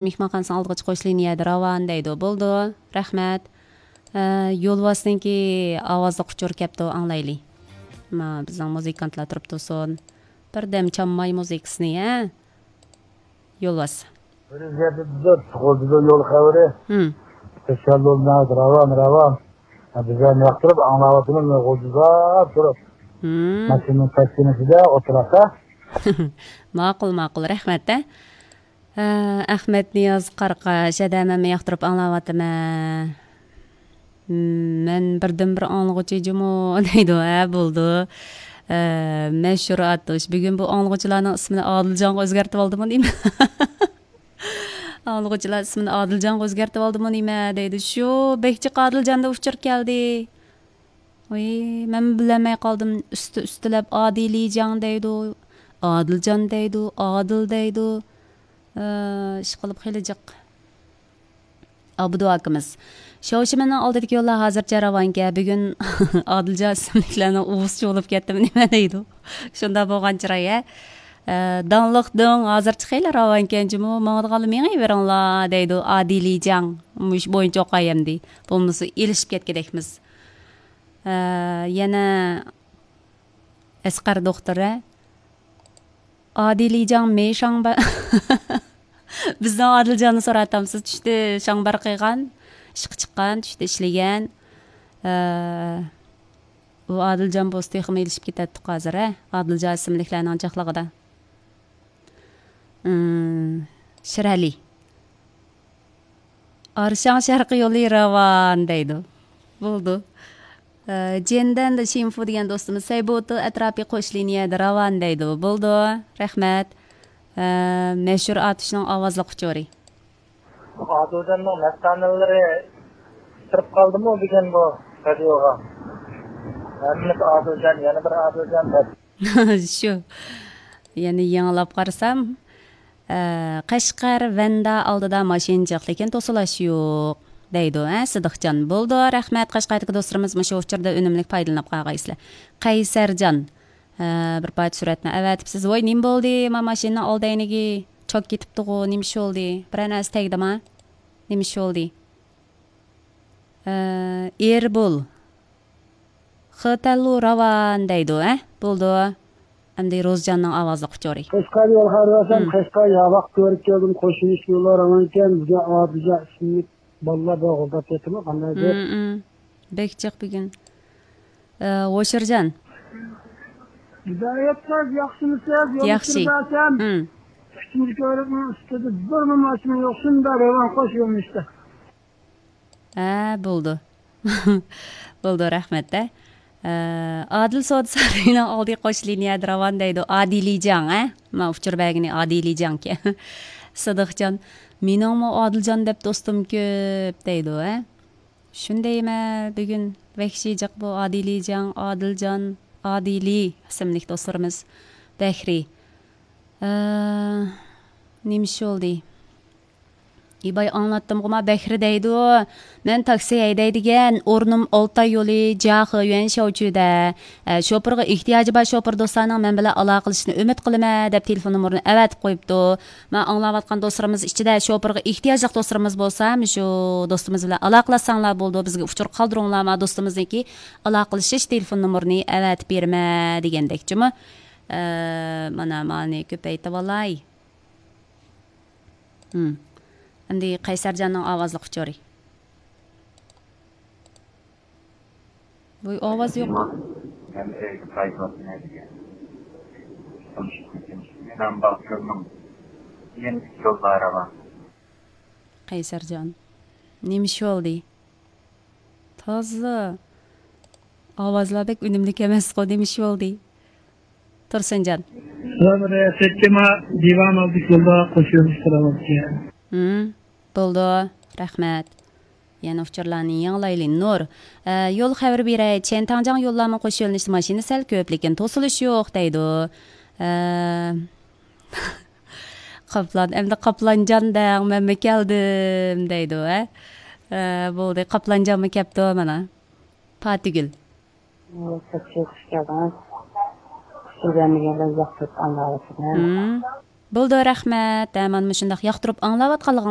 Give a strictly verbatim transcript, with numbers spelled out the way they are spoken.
مېھمانخانىسىنىڭ ئالدىغىچە قوش لىنىيەدە راۋان دەيدۇ. بولىدۇ، رەھمەت. ئە، يولۋاسنىڭكى ئاۋازلىق ئۇچۇر كەپتۇ، ئاڭلايلى. ما، بىزنىڭ مۇزىكانتلار تۇرۇپ تۇرسۇن. بىردەم چامماي مۇزىكىسىنى، ھە؟ يولۋاس. بىر يەردە بىزدە تۇغۇلدىدۇ يول خەۋىرى. ھىم. تەشەللۇرلار راۋان، راۋان. ھە، بىزلەرنى ياقتۇرۇپ ئاڭلاۋاتىمىز، غۇلجىداپ تۇرۇپ. ھىم. ماشىنىنىڭ تەسكىنىسىدە ئولتۇرسا. ماقۇل، ماقۇل، رەھمەت، ھە. ھە، ئەخمەت نىياز قاراقاش، ھەدە مەنمۇ ياقتۇرۇپ ئاڭلاۋاتىمەن. مەن بىردىنبىر ئاڭلىغۇچى جۇمۇ دەيدۇ، ھە، بولىدۇ. ھە، مەشھۇر ئاتۇش، بۈگۈن بۇ ئاڭلىغۇچىلارنىڭ ئىسمىنى ئادىلجانغا ئۆزگەرتىۋالدىمۇ نېمە؟ ئاڭلىغۇچىلار ئىسمىنى ئادىلجانغا ئۆزگەرتىۋالدىمۇ نېمە دەيدۇ. شۇ بەك جىق ئادىلجاندا ئۇچۇر كەلدى. ۋاي، مەنمۇ بىلەلمەي قالدىم. ئۈستى ئۈستىلەپ ئادىلىجاڭ دەيدۇ، ئادىلجان دەيدۇ، ئادىل دەيدۇ. ئە، ئىشقىلىپ خېلى جىق. ئابدۇ ئاكىمىز، شاۋشىمەننىڭ ئالدىدىكى يوللار ھازىرچە راۋانكەن، بۈگۈن ئادىلجان ئىسىملىكلەرنىڭ ئۇۋىسى چۇۋۇلۇپ كەتتىمۇ نېمە دەيدۇ. شۇنداق بولغان چىراي، ھە. ئە، داڭلىق دۆڭ ھازىرچە خېلى راۋانكەن جۇمۇ، ماڭىدىغانلا مېڭىۋېرىڭلار دەيدۇ ئادىلىجاڭ. مۇشۇ بويۇنچە ئوقاي ئەمدى. بولمىسا ئېلىشىپ كەتكۈدەكمىز. ئە، يەنە ئەسقەر دوختۇر، ھە؟ ئادىلىجاڭ مېشاڭبا. بىزنىڭ ئادىلجاننى سوراۋاتامسىز؟ چۈشتە شاڭبار قىلغان، ئىشقا چىققان، چۈشتە ئىشلىگەن. ئە، ئۇ ئادىلجان بولسا تېخىمۇ ئېلىشىپ كېتەتتۇق ھازىر، ھە؟ ئادىلجان ئىسىملىكلەرنىڭ جىقلىقىدا. ئىم، شىرئەلى. ئارشاڭ شەرقىي يولى راۋان دەيدۇ. بولىدۇ. ئە، جېندەن شىنفۇ دېگەن دوستىمىز، سەيبوتۇ ئەتراپى قوش لىنىيەدە راۋان دەيدۇ. بولىدۇ. رەھمەت. ئە، مەشھۇر ئاتۇشنىڭ ئاۋازلىق ئۇچۇرى. ئادىلجاننىڭ مەستانىلىرى كىرىپ قالدىمۇ بۈگۈن بۇ رادىيوغا؟ ھەممىسى ئادىلجان، يەنە بىر ئادىلجان دەپ. شۇ. يەنە يېڭىلاپ قارىسام، ئە، قەشقەر ۋەندا ئالدىدا ماشىنا جىق، لېكىن توسۇلاش يوق دەيدۇ، ھە، سىدىقجان. بولىدۇ، رەھمەت قەشقەردىكى دوستلىرىمىز مۇشۇ ئۇچۇردا ئۈنۈملۈك پايدىلىنىپ قالغايسىلەر. قەيسەرجان، ئە، بىر پارچە سۈرەتنى ئەۋەتىپسىز. ۋاي، نېمە بولدى؟ ما ماشىنىنىڭ ئالدى ئەينىكى چوك كېتىپتىغۇ، نېمە ئىش بولدى؟ بىرەر نەرسە تەگدىما؟ نېمە ئىش بولدى؟ ئە، ئېربول. خېتەللۇ راۋان دەيدۇ، ھە؟ بولىدۇ. ئەمدى روزجاننىڭ ئاۋازلىق ئۇچۇرى. قەشقەر يول خەۋىرى بەرسەم، مم. قەشقەر ياۋاق كۆرۈپ كەلدىم، قوشۇلۇش يولى راۋانكەن، بىزگە ئادىلجان ئىسىملىك بالىلار بىلەن غۇلداپ كەتتىمۇ، قانداق دەپ؟ مم، مم. بەك جىق بۈگۈن. ئە، ھوشۇرجان. ھىدايەت قىز، ياخشىمۇسىز؟ يول ياخشى. كۆرۈپ بەرسەم، مم. ئۈچىنچى كۆۋرۈكنىڭ ئۈستىدە بىرمۇ ماشىنا يوق، شۇنداق راۋان قوش يۆنىلىشتە. ھە، بولىدۇ. بولىدۇ، رەھمەت، ھە. ئە، ئادىل سودا سارىيىنىڭ ئالدى قوش لىنىيەدە راۋان دەيدۇ. ئادىلىجاڭ، ھە؟ ما ئۇچۇر بەرگىنى ئادىلىجاڭكەن. سىدىقجان، مېنىڭمۇ ئادىلجان دەپ دوستۇم كۆپ دەيدۇ، ھە؟ شۇندايمە بۈگۈن ۋەھشىي جىق بۇ ئادىلىجاڭ، ئادىلجان، ئادىلى ئىسىملىك دوستلىرىمىز. بەھرى. ئە، نېمە ئىش بولدى؟ ئىباي ئاڭلاتتىمغۇ ما بەھرى دەيدۇ. مەن تاكسى ھەيدەيدىگەن، ئورنۇم ئالتاي يولى، جياخې يۈەن شياۋچۈدە. ئە، شوپۇرغا ئېھتىياجى بار شوپۇر دوستلارنىڭ مەن بىلەن ئالاقىلىشىشىنى ئۈمىد قىلىمەن دەپ تېلېفون نومۇرىنى ئەۋەتىپ قويۇپتۇ. مانا ئاڭلاۋاتقان دوستلىرىمىز ئىچىدە شوپۇرغا ئېھتىياجلىق دوستلىرىمىز بولسا، مۇشۇ دوستىمىز بىلەن ئالاقىلەشسەڭلار بولىدۇ. بىزگە ئۇچۇر قالدۇرۇڭلار، ما دوستىمىزنىڭكى ئالاقىلىشىش تېلېفون نومۇرىنى ئەۋەتىپ بېرىمەن دېگەندەك جۇمۇ. ئە، مانا مانى كۆپەيتىۋالاي. ھىم. ئەمدى قەيسەرجاننىڭ ئاۋازلىق ئۇچۇرى. ۋوي، ئاۋاز يوق. مەن ئۆيگە قايتىۋاتىمەن دېگەن. مېنىڭ باشلىرىمنىڭ يەنە ئىككى يول بارى بار. قەيسەرجان. نېمە ئىش بولدى؟ تازا ئاۋازلار بەك ئۈنۈملۈك ئەمەسقۇ، نېمە ئىش بولدى؟ تۇرسۇنجان. سىلەر بىر سەككىما دىۋان ئالدى يولدا قوشۇلۇش قىلىۋاتىدىكەن. ھىم، بولىدۇ. رەھمەت. يەنە ئۇچۇرلارنى يېڭىلايلى. نۇر. ئە، يول خەۋىرى بېرەي. چيەنتاڭجاڭ يوللارمۇ قوش يۆنىلىشتە ماشىنا سەل كۆپ، لېكىن توسۇلۇش يوق دەيدۇ. ئە، قاپلان، ئەمدى قاپلانجان دەڭ، مەنمۇ كەلدىم دەيدۇ، ھە؟ ئە، بولدى، قاپلانجانمۇ كەپتۇ مانا. پاتىگۈل. ئۇ، كۆپچىلىك خۇش كەلدىڭىز. خۇش كەلگەنلىكىڭىزنى ياقتۇرۇپ ئاڭلاۋاتىمەن. ھىم. بولدى، رەھمەت. ھە، مانا مۇشۇنداق ياقتۇرۇپ ئاڭلاۋاتقانلىقىڭلار